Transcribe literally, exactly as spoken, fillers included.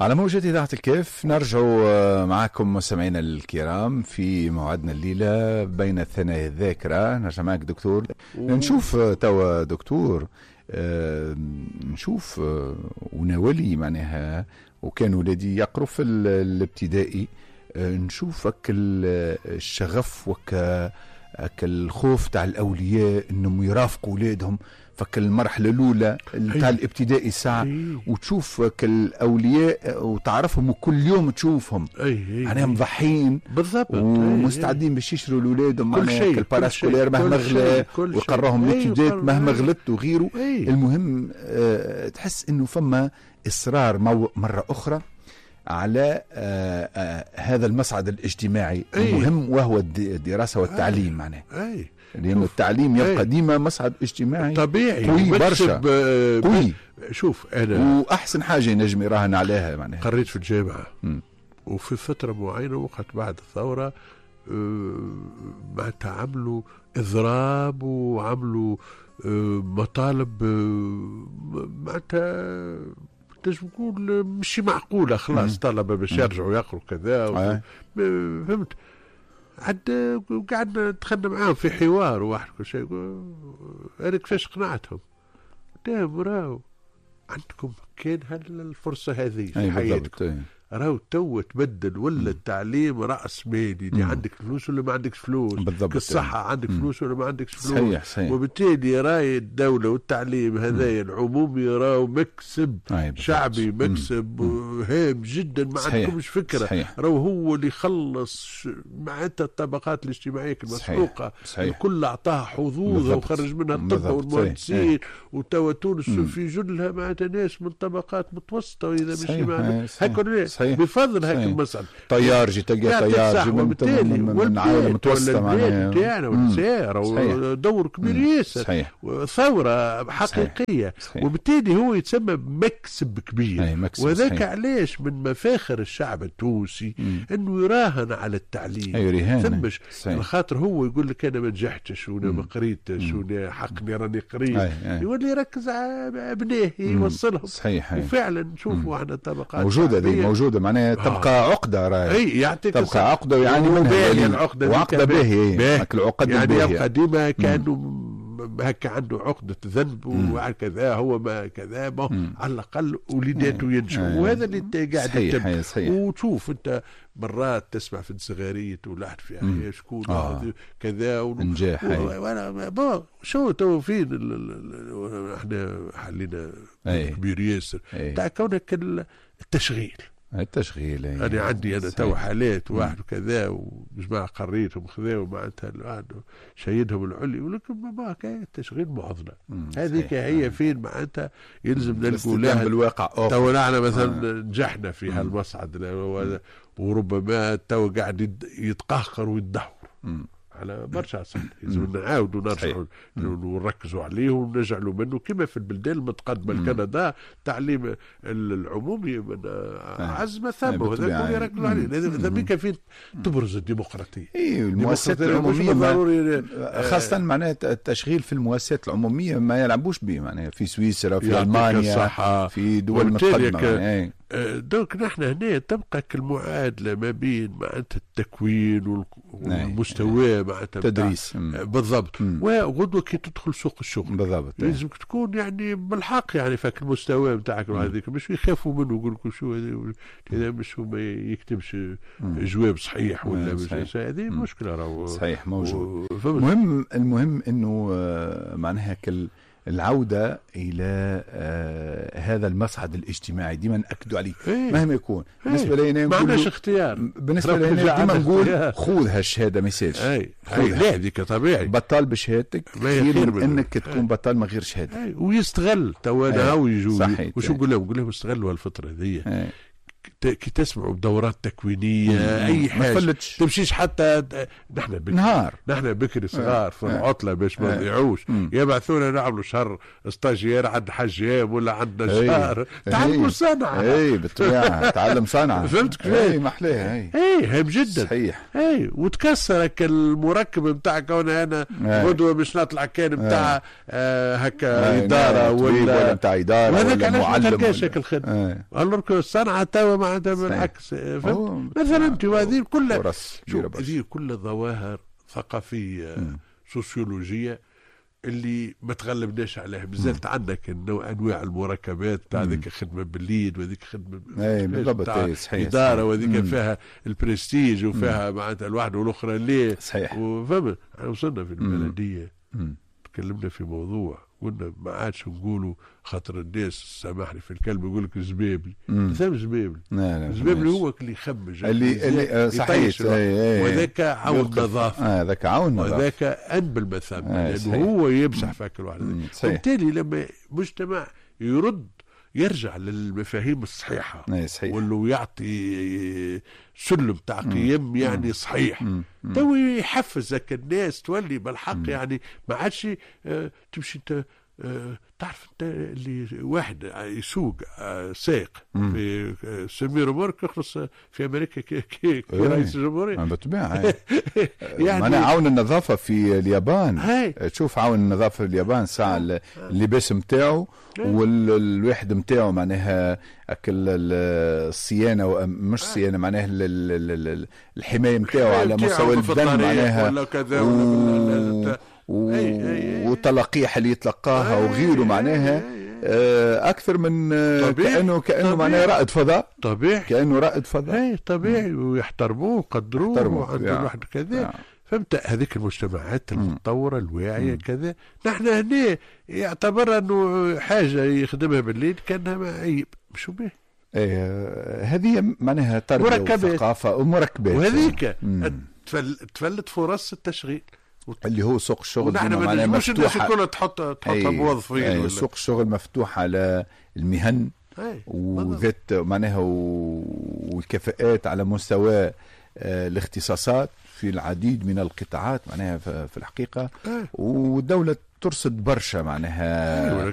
على موجة إذاعة الكاف نرجع معكم مستمعينا الكرام في موعدنا الليلة بين الثنايا الذاكرة. نرجع معك دكتور، نشوف توا دكتور، آه نشوف آه وناولي معناها، وكان ولادي يقروا في الابتدائي، آه نشوفك الشغف وك الخوف تاع الأولياء انهم يرافقوا اولادهم فك المرحلة الاولى تاع الابتدائي ساعة، وتشوف الاولياء وتعرفهم وكل يوم تشوفهم معناها مضحين بالضبط ومستعدين باش يشروا لاولادهم كل شيء، ال parascolaire مهما غلا ويقراهم l'étude مهما غلت وغيره. المهم أه تحس انه فما اصرار مرة اخرى على آه آه هذا المصعد الاجتماعي المهم، وهو الدراسة والتعليم معناه. لأن التعليم يبقى ديما مصعد اجتماعي طبيعي قوي برشا قوي. شوف أنا وأحسن حاجة ينجم يراهن عليها معناها. قريت في الجامعة م. وفي فترة معينة وقت بعد الثورة معناتها عملوا إضراب وعملوا مطالب معناتها تنجم تقول مش معقولة، خلاص طلبة باش يرجعوا يقروا كذا و... فهمت. عاد قعدنا دخلنا معاهم في حوار واحد كل شيء. انا كيفاش قنعتهم؟ قلت راهو عندكم كان هالفرصة هذه في حياتكم، راهو تو تبدل ولا التعليم راس مالي، اللي عندك فلوس ولا ما عندكش فلوس، بالضبط الصحة عندك فلوس ولا ما عندكش فلوس. صحيح صحيح. وبالتالي راي الدولة والتعليم هذايا العمومي راهو مكسب شعبي، مكسب هام جدا، ما عندكمش فكرة. راهو هو اللي خلص معناتها الطبقات الاجتماعية المسحوقه الكل، اعطاها حظوظها وخرج منها الطب والمهندسين، وتوا تونس في جلها معناتها ناس من طبقات متوسطه، واذا مش معناتها هكا بفضل هاك المسألة. طيار جي تلقى طيار جي من, من, من عائلة متوسطة معناها تاعنا والنساء دور كبير ياسر، ثورة حقيقية. صحيح. وبالتالي هو يتسمى مكسب كبير. وذاك علاش من مفاخر الشعب التونسي انه يراهن على التعليم. ثمش خاطر هو يقول لك انا ما نجحتش ولا ما قريتش ولا حقني راني قريت، يولي يركز على ابنائه يوصلهم. صحيح. وفعلا نشوفوا احنا طبقات موجودة دي موجودة معناها تبقى آه. عقدة راهي. اي يعطيك تبقى عقدة ويعاني منها العقدة، وعقدة باهية العقد يعني يبقى ديما كأنه هكا عنده عقدة ذنب وكذا، هو ما كذا، على الأقل وليداته ينجحوا، وهذا اللي قاعد يتم. وتشوف أنت مرات تسمع في الصغارية ولاحد في أحياء شكون آه. كذا نجاح وانا bon شو تو فين احنا حلينا كبير ياسر تاع كونك التشغيل. التشغيل أنا يعني عندي أنا تو حالات واحد وكذا وجماعة قريتهم خذاو معناتها شيدهم العلي، ولكن ما كان التشغيل معضلة. هذيك هي فين معناتها يلزم نلقوا لها بالواقع. تو نحن مثلا آه. نجحنا في هالمصعد، وربما تو قاعد يتقهقر ويتدهور على برشا صح. لازم نعاودوا نرجعوا ونركزوا عليه ونجعلوا منه كما في البلدان المتقدمة. الكندا التعليم العمومي من اعز ما ثم، وهذا كل يركزوا عليه. هذا بك فين تبرز الديمقراطية. اي المؤسسات العمومية ضروري، خاصة معناها التشغيل في المؤسسات العمومية ما يلعبوش به معناها في سويسرا، في المانيا، في دول متقدمة. donc نحن هنا تبقى المعادلة ما بين معناتها التكوين والمستوى معناتها التدريس بالضبط، وغدوه كي تدخل سوق الشغل بالضبط لازمك تكون يعني بالحق يعني فاك المستوى نتاعك هذيك، مش يخافوا منه يقول لك شو هذا مش هو ما يكتبش جواب صحيح ولا مش هذه مشكلة راهو. صحيح موجود. المهم المهم انه معناها كل العودة إلى آه هذا المصعد الاجتماعي ديما نأكدوا عليه. إيه؟ مهما يكون. بالنسبة إيه؟ لنا ما عندناش اختيار. بالنسبة لنا ديما نقول خذ هالشهادة ما يسالش. لا هذيك طبيعي بطال بشهادتك خير من انك تكون بطال من غير شهادة. أي. ويستغل تو انا هاو يجوا وشو نقول لهم؟ نقول لهم استغلوا الفترة هذه. كي تسمعوا بدورات تكوينيه اي حاجة ما تفلتش، تمشيش حتى نحن بكري نهار نحن بكري صغار في العطلة باش ما نضيعوش، يبعثونا نعملوا شهر stagiaire عند حجام ولا عند نجار، تعلموا صنعه. اي بالطبيعة تعلم صنعه. فهمت كيفاش؟ اي محلاها. اي اي هام جدا. صحيح. اي وتكسرك المركب نتاعك، انا انا غدوه باش نطلع كان نتاع آه هكا ادارة ولا ولا نتاع ادارة ولا معلم، ما تلقاش هيك الخدمة. alors que الصنعة توا معناتها بالعكس. فهمت؟ مثلا هذه كلها هذه كلها ظواهر ثقافية مم. سوسيولوجيه اللي ما تغلبناش عليها. مازالت عندك النوع انواع المركبات تاع ذيك الخدمة بالليل وذيك خدمة اي بالضبط صحيح ادارة وذيك فيها البرستيج وفيها معناتها الواحد والاخرى ليه. صحيح. وفهمت وصلنا في البلدية تكلمنا في موضوع قلنا ما عادش نقولوا خاطر الناس سامحني في الكلمة يقول لك زبابلي. مثلا زبابلي زبابلي هو اللي يخمج اللي اللي صحيح، وذاك عون نظافة. اه ذاك عون نظافة، وذاك انبل مثلا لانه هو يمسح فاك الواحد. وبالتالي لما مجتمع يرد يرجع للمفاهيم الصحيحة واللي يعطي سلم تاع قيم يعني صحيح، تو يحفزك الناس تولي بالحق. مم. يعني ما عادش آه تمشي انت آه تعرف انت اللي واحد يسوق آه سائق في آه semi-remorque يخلص في امريكا كي, كي, كي رئيس الجمهورية. بالطبيعة. يعني معناها عون النظافة في اليابان. هاي. تشوف عون النظافة في اليابان ساعة اللباس نتاعو والواحد نتاعو معناها اكل الصيانة، مش صيانة معناها الحماية نتاعو على مستوى البدن معناها ولا كذا ولا والتلقيح اللي يتلقاها وغيره معناها اكثر من طبيعي. كانه كانه معناها رائد فضاء. طبيعي كانه رائد فضاء. اي طبيعي، ويحترموه ويقدروه وعنده الواحد كذا. فهمت؟ هذيك المجتمعات المتطورة الواعية كذا. نحن هنا يعتبر انه حاجة يخدمها بالليل كانها عيب، مش به. ايه هذه معناها تربيه وثقافة ومركبات، وهذيك تفلت فرص التشغيل اللي هو سوق الشغل. نحن ما نجموش الناس الكل تحط تحطها موظفين. أي سوق الشغل مفتوح على المهن وذات معناها والكفاءات على مستوى الاختصاصات في العديد من القطاعات معناها في الحقيقة. والدولة ترصد برشا معناها